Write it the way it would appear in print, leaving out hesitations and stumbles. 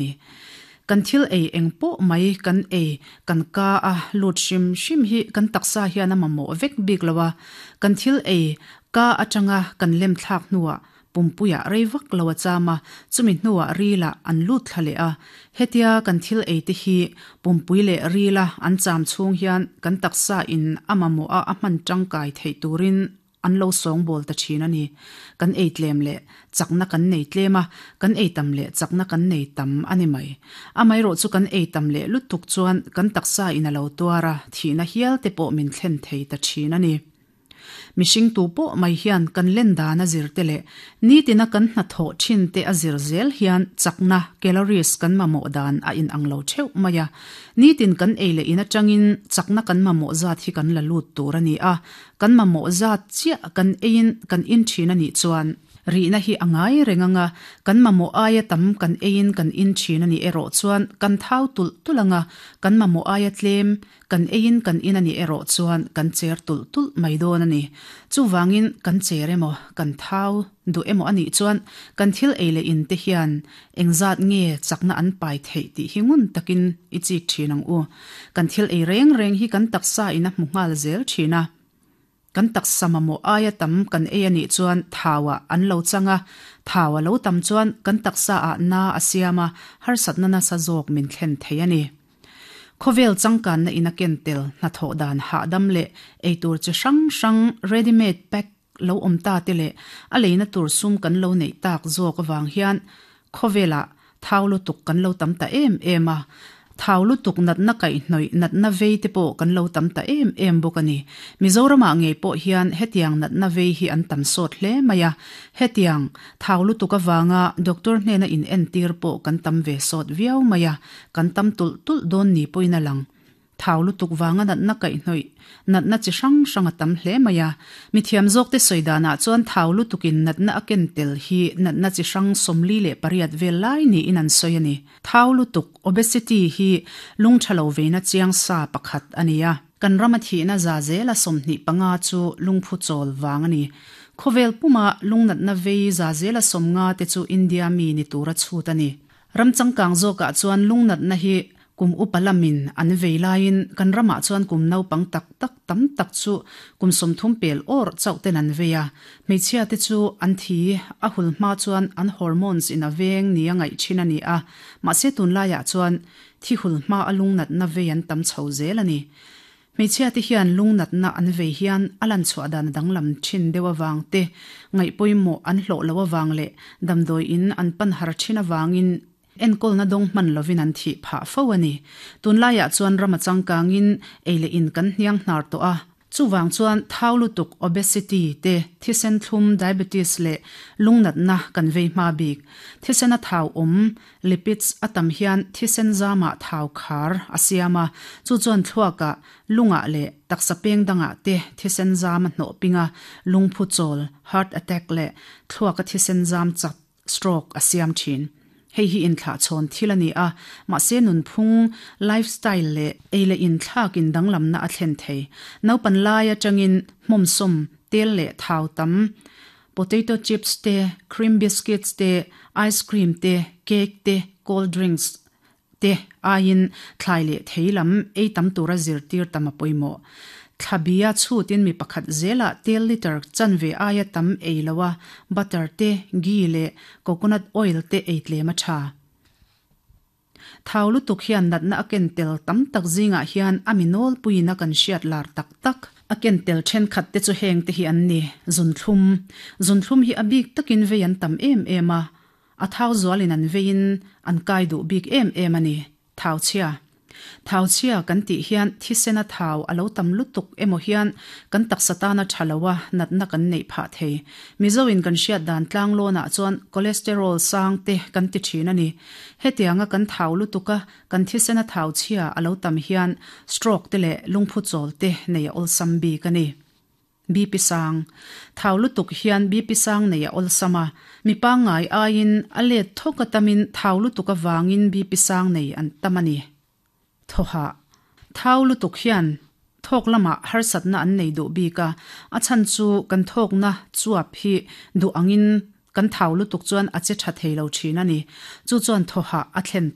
Ni. Kan thil ei eng pawh mai kan ei kan ka a lut hrim hrim hi kan taksa hian a mamawh vek bik lo a, kan thil ei ka atanga kan lem thlak hnuah pumpuiah rei vak lo a cham a, chumi hnuah rilah an lut thla leh a. Hetia kan thil ei te hi pumpui leh rila an cham chhung hian kan taksa in a mamawh a a hman tangkai theih turin An lo sawngbawl ta thin a ni. Kan ei tlem leh chakna kan nei tlem a, kan ei tam leh chakna kan nei tam a ni mai. Amaherawh chu kan ei tam leh lutuk chuan kan taksa in a lo tuar a, thihna hial te pawh min thlen thei ta thin a ni. Mihring tu pawh mai hian kan len dan a zir te leh nitina kan hnathawh thin te a zir zel hian chakna, calories, kan mamawh dan a inang lo theuh mai a. Nitin kan ei leh in atangin chakna kan mamawh zat hi kan la lut tur a ni a, Kan mamawh zat chiah kan eiin kan in thin a nih chuan rihna hi a ngai reng ang a, kan mamawh aia tam kan eiin kan in thin a nih erawh chuan kan thau tulh tulh ang a, kan mamawh aia tlem kan eiin kan in a nih erawh chuan kan cher tulh tulh mai dawn a ni. Chuvangin kan cher emaw, kan thau duh emaw a nih chuan kan thil ei leh in te hian engzat nge chakna an pai theih tih hi ngun takin i chik thin ang u. Kan thil ei reng reng hi kan taksa in a hmu nghal zel thin a. Kan taksa mamawh aia tam kan ei a nih chuan thau ah an lo chang a, thau a lo tam chuan kan taksa ah na a siam a, harsatna nasa zawk min thlen thei a ni. Khawvel changkanna in a ken tel hnathawh dan hahdam leh eitur chi hrang hrang ready made pack lo awm ta te leh a leina tur sum kan lo neih tak zawk avang hian khawvelah thau lutuk kan lo tam ta em em a, thau lutuk natna kaihhnawih natna vei te pawh kan lo tam ta em em bawk a ni. Mizoramah ngei pawh hian hetiang natna vei hi an tam sawt hle mai a, hetiang thau lutuk avanga doctor hnena inentir pawh kan tam ve sawt viau mai a, kan tam tulh tulh dawn ni pawhin a lang. Thau lutuk vanga natna kaihhnawih natna chi hrang hrang a tam hle mai a. Mithiam zawkte sawi danah chuan thau lutukin natna a ken tel hi natna chi hrang 48 vel lai niin an sawi a ni. Thau lutuk, obesity, hi lung tha lo veina chiang sa pakhat a ni a. Kan rama thihna za zela 25 chu lungphu chawl vang a ni. Khawvel puma lungnatna vei za zela 50 te chu India mi ni tura chhut a ni. Ram changkang zawkah chuan lungnatna hi kum upa lamin an vei laiin kan ramah chuan kum naupang tak tak tam tak chu kum 30 pel awr chauh ten an vei a. Hmeichhia te chu an thi a hul hma chuan an hormones in a veng nia ngaih thin a ni a, mahse tunlaiah chuan thi hul hma a lungnatna vei an tam chho zel a ni. Hmeichhia te hian lungnatna an vei hian a lan chhuah dan a danglam thin deuh avang te, ngaihpawimawh an hlawh loh avang leh damdawi in an pan har thin avangin enkawlna dawng hman lovin an thih phah fo a ni. Tunlaiah chuan ram a changkangin ei leh in kan hniang hnar tawh a, chuvang chuan thau lutuk, obesity, te, thisen thlum, diabetes, leh lungnatna kan vei hma bik. Thisen a thau awm Lipids a tam hian thisen zamah thau khar a siam a, chu chuan thluakah, lungah leh taksa peng dangah te thisen zam a hnawh ping a, lungphu chawl, heart attack, leh thluaka thisen zam chat, stroke, a siam thin. Hei hi inthlahchhawn thil a ni a, mahse nunphung, lifestyle, leh ei leh inthlak in danglamna a thlen thei. Naupan lai atangin hmawmsawm, tel leh thau tam, Potato chips te, cream biscuits te, ice cream te, cake te, cold drinks te aiin thlai leh thei lam ei tam tura zirtir tam a pawimawh. Thla bia chhutin mi pakhat zelah tel litre chanve aia tam ei lo a, butter te, ghee leh coconut oil te ei tlem a tha. Thau lutuk hian natna a ken tel tam tak zingah hian a mi nawlpuiin a kan hriat lar tak tak. A ken tel thenkhat te chu heng te hi an ni, zunthlum. Zunthlum hi a bik takin vei an tam em em a, a thau zualin an veiin an kai duh bik em em a ni. Thau chhia. Thau chhia kan tih hian thisena thau a lo tam lutuk emaw hian kan taksa tana tha lo a natna kan neih phah thei. Mizoin kan hriat dan tlanglawnah chuan cholesterol sang te kan ti thin a ni. Hetianga kan thau lutuk a, kan thisena thau chhia a lo tam hian stroke te leh lungphu chawl te nei a awlsam bik a ni. BP sang. Thau lutuk hian BP sang nei a awlsam a, mi pangngai aiin a let thawk a tamin thau lutuk avangin BP sang nei an tam a ni. Thawhah. Thau lutuk hian thawk lamah harsatna an nei duh bik a, a chhan chu kan thawkna chuap hi duh angin. Kan thau lutuk chuan a che tha thei lo thin a ni. Chu chuan thaw hah a thlen ta.